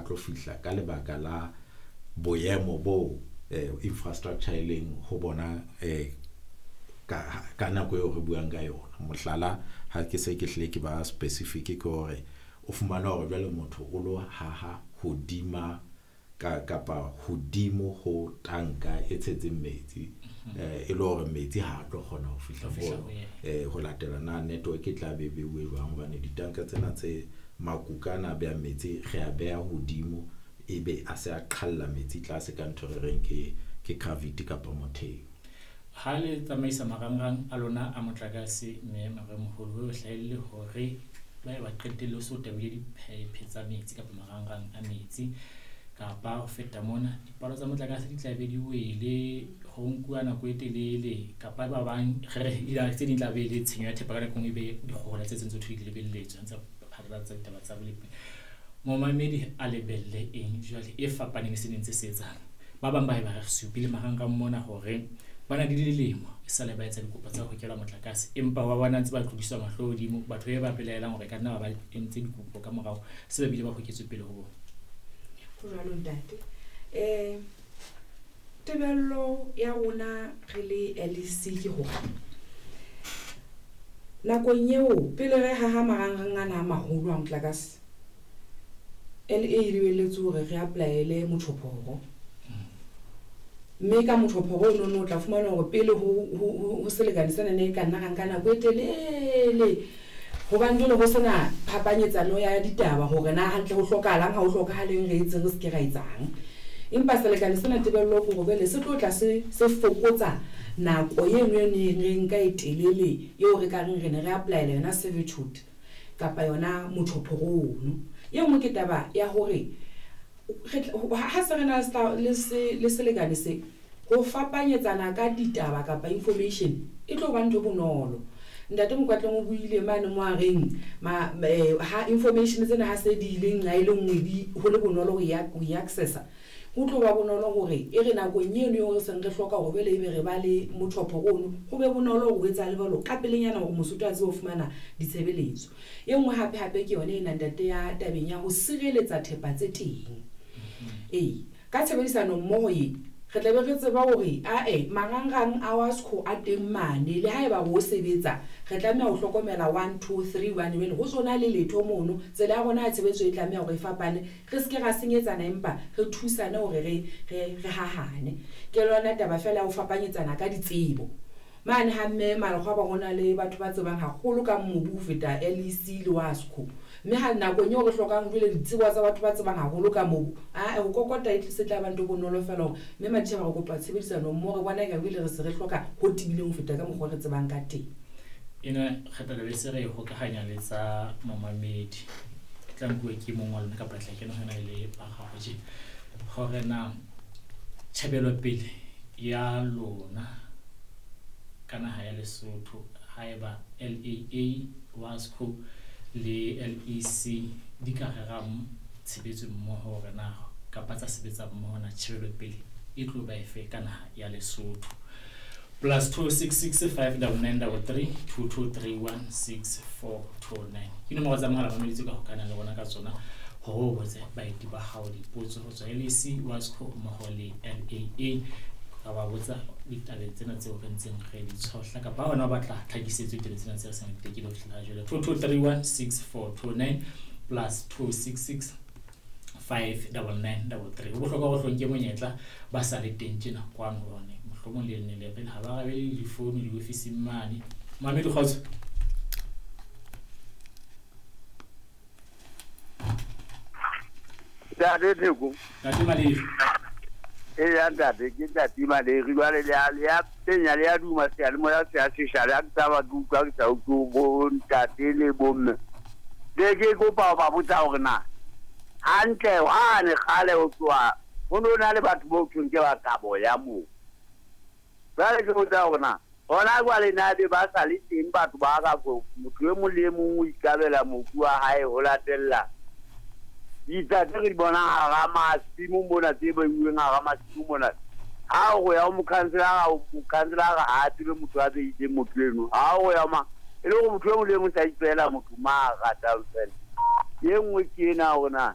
tlo fihla ka lebaka la boemo bo infrastructure e leng ho bona ka nako eo re buang ka yona. Mohlala, ha ke se ke hlile ke ba specific, ke hore o fumana hore jwale motho o lo haha hodima kapa hodimo ho tanka e tshetseng metsi, e le hore metsi ha a tlo kgona ho fihla moo, ho latela na network e tla be beuwe jwang, hobane ditanka tsena tse makuka ana a behang metsi re a beha hodimo, ebe a se a qhalla metsi tlase ka ntho re reng ke gravity kapa motheo. Ha le tsamaisa marangrang a lona a motlakase, mme Moremoholo, ho hlahelle hore ba qetelle ho se o tabile diphaephe tsa metsi kapa marangrang a metsi, kapa ho feta mona dipalo tsa motlakase di tla be di wele, ho nkuwa nako e telele, kapa ba bang re re tse ding tla be le tshenyo ya thepa ka nako e nngwe, e be dikgohola tse tse ntse di lebelletswe ntse phatlalatsa ditaba tsa bolepi. Momamedi a lebelle eng jwale e fapaneng le se neng se etsang? Ba bang ba e ba re supile marangrang mona hore ba na le dilemo e sale ba etsa dikopo tsa ho hokelwa motlakase, empa ba bona ntse ba tlodiswa mahlo hodimo, batho ba belaelang hore ka nna ba entse dikopo ka morao se ba bile ba hoketswe pele ho bona. Ho jwalo ntate. Tebello ya rona re le LEC ke hore nakong eo pele re haha marangrang ana a maholo a motlakase, LA e lebelletse hore re apply-ele motjhophoro. Mme ka motjhophoro ono no o tla fumana hore pele ho selekane sena ne e ka nna ra nka nako e telele, hobane jwale ho sena phapanyetsano ya ditaba hore na hantle ho hlokahalang, ha ho hlokahaleng, re etseng, re se ke ra etsang. Empa selekane sena tebello ke hore jwale se tlo tla se fokotsa nako eno e neng re nka e telele eo re ka reng re ne re apply-ela yona servitude kapa yona motjhophoro ono. E nngwe ke taba ya hore ha se re na le selekane se, ho fapanyetsana ka ditaba kapa information e tlo ba ntho e bonolo. Ntate Mokwatleng o buile mane mo a reng ha information tsena ha se di ile nqa e le nngwe, di ho le bonolo ho e accessa, ho tlo ba bonolo hore e re nakong eno eo re seng re hloka hore jwale ebe re ba le motjhophoro ono, ho be bonolo hore ho etsahale jwalo ka pelenyana hore Mosotho a tsebe ho fumana ditshebeletso. E nngwe hape hape ke yona ena ntate ya tabeng ya ho sireletsa thepa tse teng. Ee, ka tshebedisano mmoho e re tla be re tseba hore ae marangrang a WASCO a teng mane, le haeba ho sebetsa re tlameha ho hlokomela 1 2 3 hobane jwale ho sona le letho mono, tsela ya rona ya tshebetso e tlameha hore e fapane, re se ke ra senyetsana empa re thusane hore re hahane. Ke lona taba fela ya ho fapanyetsana ka ditsebo. Mane ha mme Malekgwaba ho na le batho ba tsebang haholo ka mobu ho feta LEC le WASCO. Mme ha nakong eo re hlokang jwale ditsebo tsa batho ba tsebang haholo ka mobu, ae ho kokota e se tla ba ntho bonolo fela hore mme Matjhaba re kopa tshebedisano mmoho, re bona eka jwale re se re hloka ho tebileng ho feta ka mokgwa re tsebang ka teng. Ena kgetho be se re hokahanya le tsa momamedi. E tla nkuwe ke mong wa lona kapa tla kena hona le ba gago tje. Hore na tjhebelopele ya lona ka naha ya Lesotho haeba LAA, WASCO le LEC di ka rera tshebetso mmoho hore na kapa tsa sebetsa mmoho na tjhebelopele e tlo ba efe ka naha ya Lesotho. +266 599 33 22 31 6429 ke nomoro tsa mohala mamedi tse ka hokanang le rona ka tsona hore o botse baeti ba hao dipotso ho tswa LEC, WASCO mmoho le LAA. Ka ba botsa ditabeng tsena tseo re ntseng re di tshohla kapa hona o batla tlhakisetso ditabeng tsena tse re seng re di tekile ho fihlela jwale. 2231 6429 +266 599 33. Ho bohlokwa ho hlonke monyetla ba sa le teng tjena kwano hobane mohlomong le nne le re ha ba arabele difounu diofising mane. Mamedi kgotso. Ntate Theko. Ntate Maleri. Eya ntate, ke ntate Maleri. Jwale le ya penya, le ya duma seyalemoya se a sesha, le ha ke taba ke utlwa ke sa utlwe bo ntate le bo mme. Ke ke kopa ho ba botsa hore na hantle hwane kgale ho tloha ho no na le batho bo thweng ke ba kabo ya moo. Jwale ke botsa hore na hona jwale na be ba sa le teng batho ba ka ko motho e mong le e mong o ikabela mobu wa hae ho latella ditsha tse re di bonang hara masimo mona, tse beuweng hara masimo mona. Ha o ya ho mokhanselara, mokhanselara ha a tsebe motho a beileng motho eno. Ha o ya ma e le hore motho e mong le e mong sa ipehela motho ma ratang fela. E nngwe ke ena hore na